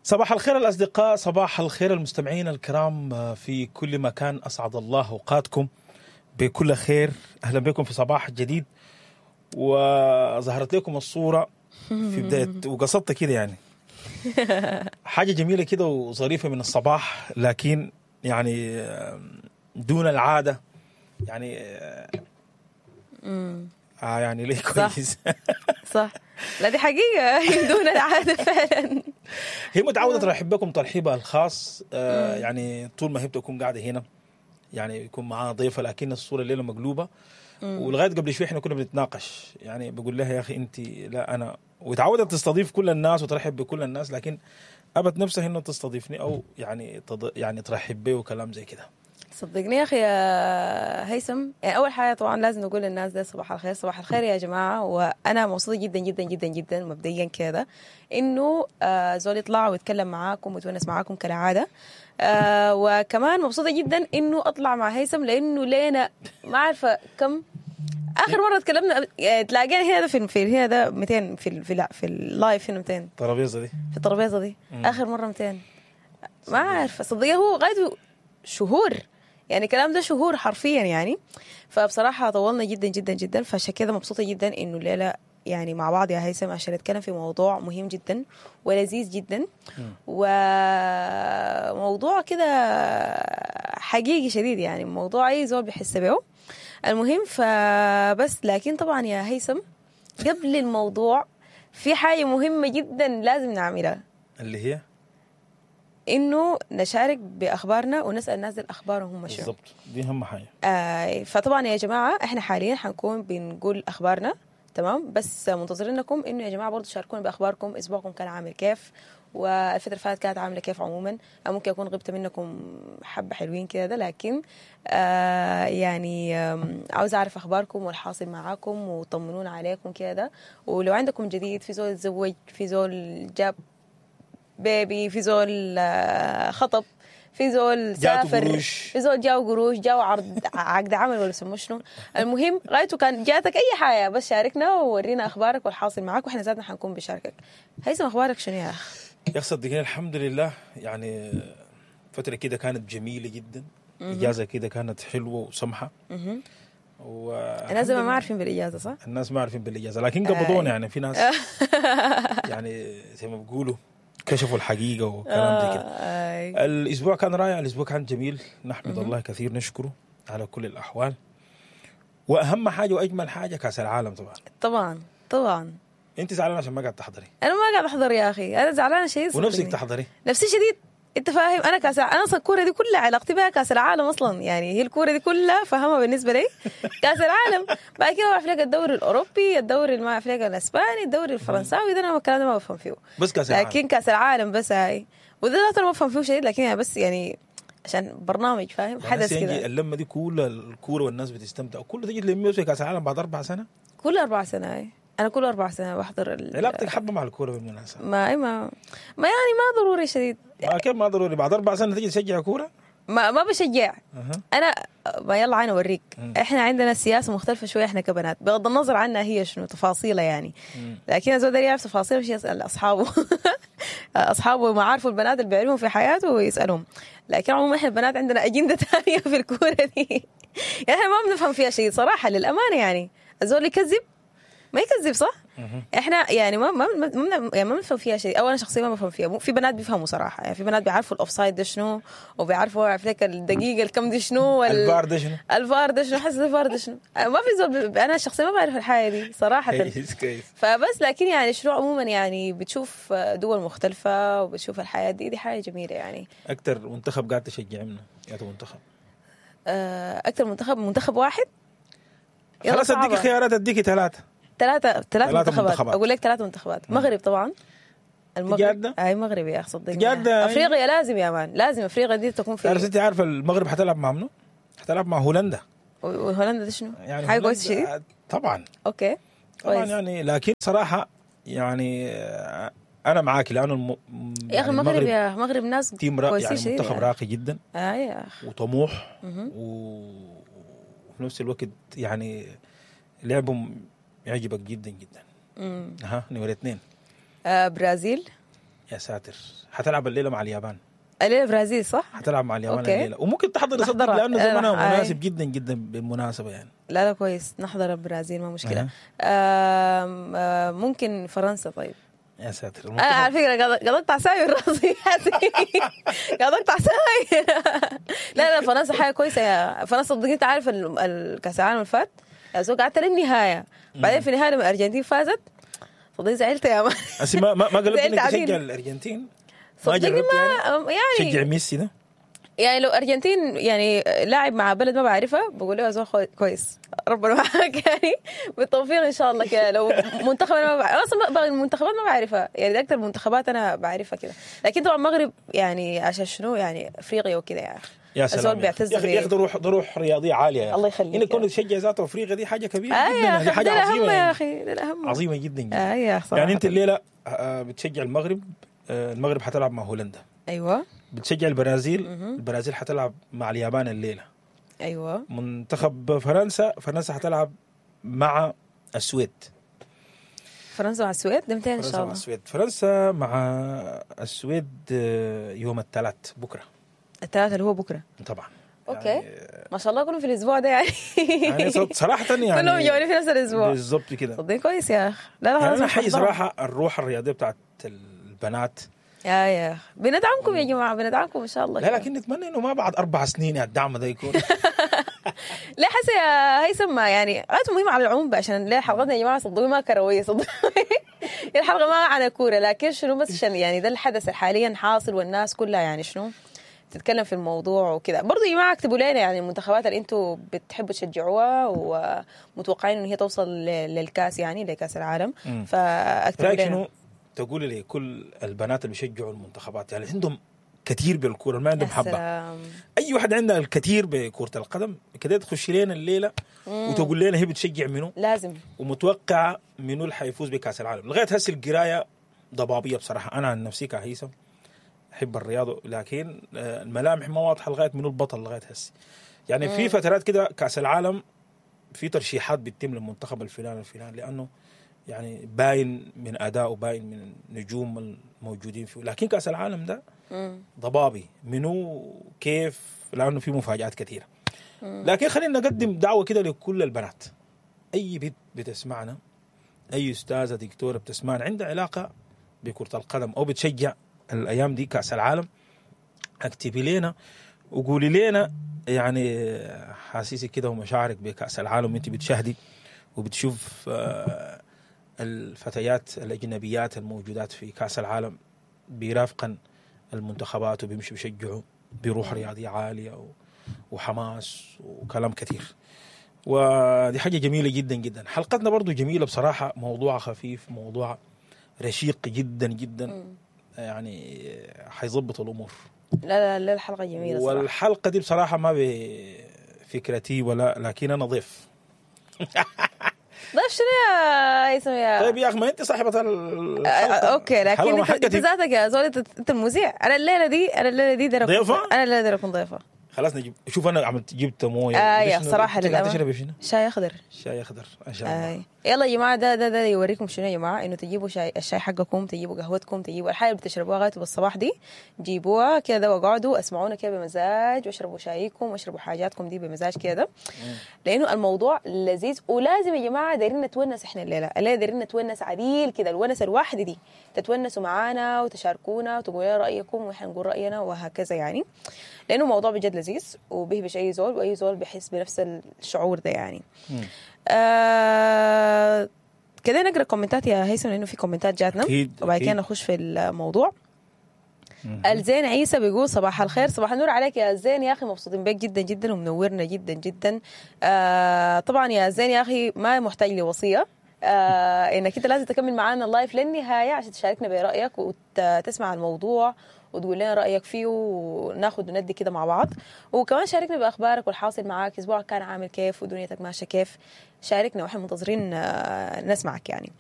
صباح الخير الأصدقاء، صباح الخير المستمعين الكرام في كل مكان. أسعد الله أوقاتكم بكل خير. أهلا بكم في صباح جديد. وظهرت لكم الصورة في بداية وقصدت كده يعني حاجة جميلة كده وظريفة من الصباح، لكن يعني دون العادة يعني يعني ليه كويس. صح، لا دي حقيقة دون العادة فعلا. هي متعودة ترحب بكم ترحيبها الخاص، يعني طول ما هي بتكون قاعدة هنا يعني يكون معاها ضيفة، لكن الصورة الليلة مقلوبة. ولغاية قبل شوي احنا كنا بنتناقش، يعني بقول لها يا أخي أنت لا أنا، وتعودت تستضيف كل الناس وترحب بكل الناس، لكن أبت نفسها إنه تستضيفني أو يعني يعني ترحب بي وكلام زي كده. صدقني يا أخي يا هيثم، يعني أول حاجة طبعا لازم نقول للناس ده صباح الخير، صباح الخير يا جماعة. وأنا مبسوطة جدا جدا جدا جدا مبدئيا كده إنه زول يطلع ويتكلم معاكم ويتونس معاكم كالعادة. وكمان مبسوطة جدا إنه أطلع مع هيثم، لأنه لينا ما عارفة كم آخر مرة تكلمنا، تلاقينا هنا ده في هنا ده 200 في ال live هنا 200 الترابيزة دي، في الترابيزة دي آخر مرة 200 ما عارفة صدقني، هو غايته شهور يعني، الكلام ده شهور حرفيا يعني. فبصراحة طولنا جدا جدا جدا، فعشان كده مبسوطة جدا إنه الليلة يعني مع بعض يا هيثم عشان نتكلم في موضوع مهم جدا ولذيذ جدا، وموضوع كده حقيقي شديد يعني، موضوع أي زول بيحس به. المهم فبس، لكن طبعا يا هيثم قبل الموضوع في حاجة مهمة جدا لازم نعملها، اللي هي إنه نشارك بأخبارنا ونسأل الناس الأخبار وهم شو بالضبط. دي أهم حاجة. فطبعا يا جماعة إحنا حاليا حنكون بنقول أخبارنا، تمام؟ بس منتظرينكم إنه يا جماعة برضو شاركونا بأخباركم، أسبوعكم كان عامل كيف، والفترة اللي فاتت كانت عاملة كيف عموما. ممكن أكون غبت منكم حبة حلوين كده ده، لكن يعني عاوز أعرف أخباركم والحاصل معاكم، وطمنونا عليكم كده. ولو عندكم جديد، في زول تزوج، في زول جاب بيبي، في زول خطب، في زول سافر، في زول جاو قروش، جاو عرض عقد عمل ولا سموه شنو. المهم غايته كان جاتك اي حاجة، بس شاركنا وورينا اخبارك والحاصل معاك، واحنا ذاتنا حنكون بشاركك. هيثم اخبارك شنو يا اخ؟ يا اخي صدقني الحمد لله، يعني فترة كده كانت جميلة جدا، اجازه كده كانت حلوة وسمحه. الناس ما عارفين بالاجازة، صح؟ الناس ما عارفين بالاجازة، لكن قبضونا يعني، في ناس يعني زي ما بيقولوا كشفوا الحقيقة وكلام زي كده. الأسبوع كان رائع، الأسبوع كان جميل، نحمد الله كثير، نشكره على كل الأحوال. وأهم حاجة وأجمل حاجة كأس العالم طبعا. طبعا طبعا. أنت زعلانة عشان ما قاعد تحضري؟ أنا ما قاعد أحضر يا أخي، أنا زعلانة شديد. ونفسك تحضري؟ نفسي شديد، أنت فاهم؟ أنا كأس، أنا أصلا الكورة دي كلها علاقتي بها كأس العالم أصلا، يعني هي الكورة دي كلها فهمها بالنسبة لي كأس العالم. بعد كده بعرف لك الدوري الأوروبي، الدوري ما أعرف لك الأسباني، الدوري الفرنساوي، ده أنا الكلام ده ما بفهم فيه. بس كأس العالم. لكن كأس العالم بس هاي، وده أنا ما بفهم فيه شيء، لكن يعني بس يعني عشان برنامج فاهم حدث كده. اللمة دي كل الكورة والناس بتستمتع، وكله تيجي تلميه في كأس العالم بعد 4 سنة. كل 4 سنة هاي. أنا كل 4 سنة بحضر علاقتك حبة مع الكورة بالمناسبة؟ ما ما ما يعني ما ضروري شديد. ما كيف ما ضروري؟ بعد 4 سنة تيجي تشجع كورة؟ ما بشجع. أنا ما يلا أنا أوريك. إحنا عندنا سياسة مختلفة شوية إحنا كبنات، بغض النظر عنها هي شنو تفاصيلها يعني. لكن الزول ده يعرف تفاصيلها مش يسأل أصحابه. أصحابه ما عارفوا البنات اللي بيعرفهم في حياته ويسألهم. لكن عموما إحنا البنات عندنا أجندة ثانية في الكورة دي. يعني إحنا ما بنفهم فيها شيء صراحة للأمانة يعني. الزول يكذب ما يكذب، صح؟ احنا يعني ما ما ما يعني ما بنفهم فيها شيء، او انا شخصيا ما بفهم فيها. في بنات بيفهموا صراحة، يعني في بنات بيعرفوا ال offside ده شنو، وبيعرفوا عارف لك الدقيقة الكم دي شنو، الفار ده شنو، الفار ده شنو، حس الفار ده شنو. ما في زول انا شخصيا ما بعرف الحاجة دي صراحة. فبس لكن يعني شنو عموما يعني بتشوف دول مختلفة وبتشوف الحياة دي، دي حاجة جميلة يعني. اكثر منتخب قاعد تشجع منه يا منتخب؟ اكثر منتخب واحد؟ خلاص اديك خيارات، اديك ثلاثة منتخبات. اقول لك 3 منتخبات. مغرب طبعا، المغرب. اي مغرب يا اخي صدقني. افريقيا لازم يا مان، لازم افريقيا دي تكون في. انت عارفه المغرب حتلعب مع منو؟ حتلعب مع هولندا. وهولندا دي شنو؟ يعني حاجة كويسة شديد طبعا. okay طبعا يعني، لكن صراحة يعني انا معاك لانه يا اخي المغرب، يا المغرب ناس كويسين يعني، منتخب راقي جدا. يا اخي وطموح، وفي نفس الوقت يعني لعبهم يعجبك جدا جدا. ها نمرة 2 برازيل. يا ساتر، حتلعب الليلة مع اليابان. الليلة البرازيل صح؟ حتلعب مع اليابان okay. الليلة، وممكن تحضر صدق نحضرها. لانه زمنها آه. مناسب جدا جدا بالمناسبة يعني. لا لا كويس، نحضر البرازيل ما مشكلة. أها. آم آم ممكن فرنسا. طيب يا ساتر، انا على فكرة قاعد اقطع ساي من راسي، قاعد اقطع ساي. لا لا، فرنسا حاجة كويسة يا فرنسا. صدقني انت عارف الكاس العالم اللي فات يا زول قعدت للنهايه، بعدين في النهاية لما الارجنتين فازت صدقني زعلت يا man. هسي ما قلبت زعلت انك عديل. تشجع الارجنتين؟ ما صدقني جربت ما يعني تشجع ميسي ده؟ يعني لو ارجنتين يعني لاعب مع بلد ما بعرفها بقول له يا زول كويس، ربنا معاك، يعني بالتوفيق ان شاء الله كده. لو منتخب انا ما بعرف اصلا، باقي المنتخبات ما بعرفها، يعني ده اكثر منتخبات انا بعرفها كده. لكن طبعا المغرب يعني عشان شنو يعني افريقيا وكده يعني. يا سلام الزول يا بيعتز أخي. يا اخي ده روح رياضية عالية يا أخي. الله يخليك انك يا كونك تشجع ذاته افريقيا دي حاجة كبيرة آه جدا، يا دي اخي حاجة ده الاهم عظيمة يا يعني. اخي، ده الاهم. عظيمة جدا جدا. آه يا صراحة. يعني انت الليلة بتشجع المغرب، المغرب حتلعب مع هولندا. بتشجع البرازيل، البرازيل حتلعب مع اليابان الليلة. منتخب فرنسا، فرنسا حتلعب مع السويد. فرنسا مع السويد ده متى ان فرنسا شاء مع الله؟ السويد، فرنسا مع السويد يوم الثلاث بكره. الثلاثة اللي هو بكره. طبعا. okay. يعني، ما شاء الله كلهم في الاسبوع ده يعني. يعني صراحة يعني كلهم جوني في نفس الاسبوع. بالضبط كده. صدقني كويس يا اخي. لا لا يعني خلاص انا مش حي هحضرها. صراحة الروح الرياضية بتاعت البنات. يا اخي بندعمكم يا جماعه، بندعمكم ان شاء الله لا كده. لكن نتمنى انه ما بعد 4 سنين يعني الدعم ده يكون. لا حس يا هيثم، ما يعني غايته مهمة على العموم بقى، عشان ليه حلقتنا يا جماعة صدقوني ما كروية، صدقوني الحلقة ما عن الكوره، لكن شنو بس عشان يعني ده الحدث حاليا حاصل والناس كلها يعني شنو تتكلم في الموضوع وكذا. برضو يا جماعة اكتبوا لنا يعني المنتخبات اللي انتم بتحبوا تشجعوها ومتوقعين ان هي توصل للكاس، يعني لكاس العالم. فاكتبوا رايك لنا. شنو تقولي لكل البنات اللي بيشجعوا المنتخبات، يعني عندهم كثير بالكورة ما عندهم يا حبه؟ سلام. اي واحد عندها الكثير بكره القدم كده تخش لنا الليلة وتقول لنا هي بتشجع منو لازم. ومتوقعه منو اللي حيفوز بكاس العالم. لغاية هسه القراية ضبابية بصراحه، انا عن نفسي كهيثم احب الرياضة لكن الملامح ما واضحة لغاية منو البطل لغاية هسه. يعني في فترات كده كاس العالم في ترشيحات بتتم للمنتخب الفلاني الفلاني لانه يعني باين من اداؤه، باين من النجوم الموجودين فيه، لكن كاس العالم ده ضبابي منو كيف لانه في مفاجات كثيرة. لكن خلينا نقدم دعوه كده لكل البنات، اي بنت بتسمعنا، اي استاذه دكتورة بتسمعنا عندها علاقة بكره القدم او بتشجع الايام دي كاس العالم، اكتبي لنا وقولي لنا يعني حاسيسك كده ومشاعرك بكاس العالم وانت بتشاهدي وبتشوف الفتيات الاجنبيات الموجودات في كاس العالم بيرافقن المنتخبات وبيمشوا بيشجعوا بروح رياضية عالية وحماس وكلام كثير، ودي حاجة جميلة جدا جدا. حلقتنا برضو جميلة بصراحه، موضوع خفيف، موضوع رشيق جدا جدا، يعني حيظبط الامور. لا لا لا، الحلقة جميلة صراحه. والحلقة دي بصراحة ما بفكرتي ولا، لكن انا ضيف. ضيف شنو يا هيثم يا طيب يا اخي، ما انت صاحبه الحلقه. okay، لكن الحلقة ما انت حقتي. ذاتك يا زول، انت المذيع. انا الليلة دي داير أكون- ضيفة؟ انا الليلة داير اكون ضيفه. خلاص نجيب، شوف انا عملت جبت مويه. يا شنو؟ صراحة انت قاعدة للأمانة. تشربي شنو؟ شاي اخضر. شاي اخضر ان شاء الله. آه. يلا يا جماعه، ده يوريكم شنو يا جماعه، انه تجيبوا شاي، الشاي حقكم، تجيبوا قهوتكم، تجيبوا الحاجة اللي بتشربوها غايته بالصباح دي، جيبوها كده واقعدوا اسمعونا كده بمزاج، واشربوا شايكم واشربوا حاجاتكم دي بمزاج كده، لانه الموضوع لذيذ ولازم يا جماعة دايرين نتونس احنا الليله، الليلة دايرين نتونس عديل كده، الونس الواحدة دي تتونسوا معانا وتشاركونا وتقولوا لنا رايكم واحنا نقول راينا وهكذا يعني، لانه الموضوع بجد لذيذ وبيهبش اي زول، واي زول بيحس بنفس الشعور ده يعني. كده نقرا كومنتات يا هيثم لانه في كومنتات جاتنا. وبعد كده نخش في الموضوع. الزين عيسى بيقول صباح الخير. صباح النور عليك يا زين يا اخي، مبسوطين بك جدا جدا ومنورنا جدا جدا. طبعا يا زين يا اخي ما محتاج لوصية، انك انت لازم تكمل معانا ال live للنهاية عشان تشاركنا برايك وتسمع الموضوع وتقول لنا رايك فيه وناخد وندي كده مع بعض، وكمان شاركنا باخبارك والحاصل معاك، اسبوعك كان عامل كيف ودنيتك ماشية كيف، شاركنا واحنا منتظرين نسمعك يعني.